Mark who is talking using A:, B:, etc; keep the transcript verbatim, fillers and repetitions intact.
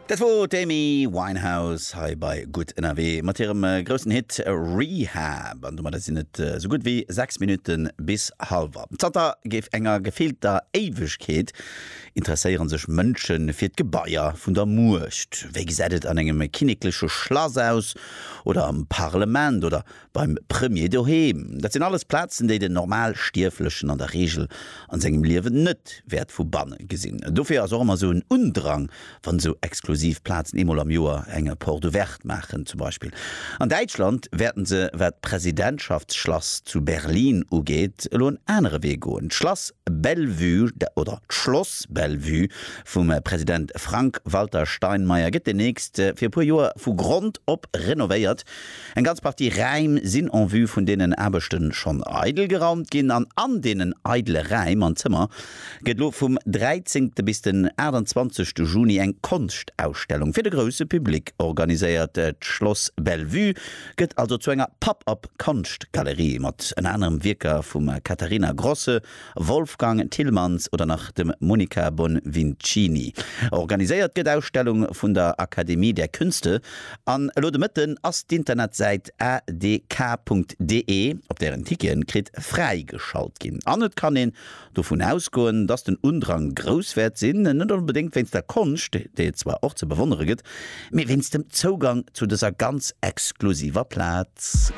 A: Dat wor d'Amy Winehouse hei bei Gutt Ënnerwee mat hirem groussen Hit Rehab. An domadder sinn et sou gutt wéi sechs Minutte bis hallwer. Zanter géif enger gefillter Éiwegkeet interesséiere sech Mënsche fir d'Gebaier vun der Muecht. Wéi gesäit et an engem kinnekleche Schlass aus oder am Parlement oder beim Premier doheem? Dat sinn alles Plazen, déi den Normalstierflechen an der Reegel an sengem Liewen net wäert vu banne gesinn. Dofir ass och ëmmer sou en Undrang, wann esou exklusiv Plazen eemol am Joer eng Porte ouverte maachen zum Beispill. An Däitschland wäerten se, wat d'Presidentschaftsschlass zu Berlin ugeet, elo en anere Wee goen. D'Schlass Bellevue oder d'Schloss Bellevue vum President Frank-Walter Steinmeier gëtt demnächst fir e puer Joer vu Grond op renovéiert. Eng ganz Partie Räim sinn en vue vun deenen Aarbechte schonn eidel geraumt ginn an an deenen eidele Räim an Zëmmer gëtt elo vum dräizéngte bis den aachtanzwanzegste Juni eng Konschtausstellung fir de grousse Public organiséiert. D'Schloss Bellevue gëtt also zu enger Pop-up Konschtgalerie mat ënner anerem Wierker vum Katharina Grosse, Wolfgang Tillmans oder nach dem Monica Bonvicini. Organiséiert gëtt d'Ausstellung vun der Akademie der Künste an elo de Mëtten ass d'Internetsäit adk.de, op där een Ticketen kritt, fräigeschalt ginn. An et kann een dovun ausgoen, dass den Undrang grouss wäert sinn, net onbedéngt wéinst der Konscht, déi et zwar och ze bewonnere gëtt, mee wéinst dem Zougang zu dëser ganz exklusiver Plaz.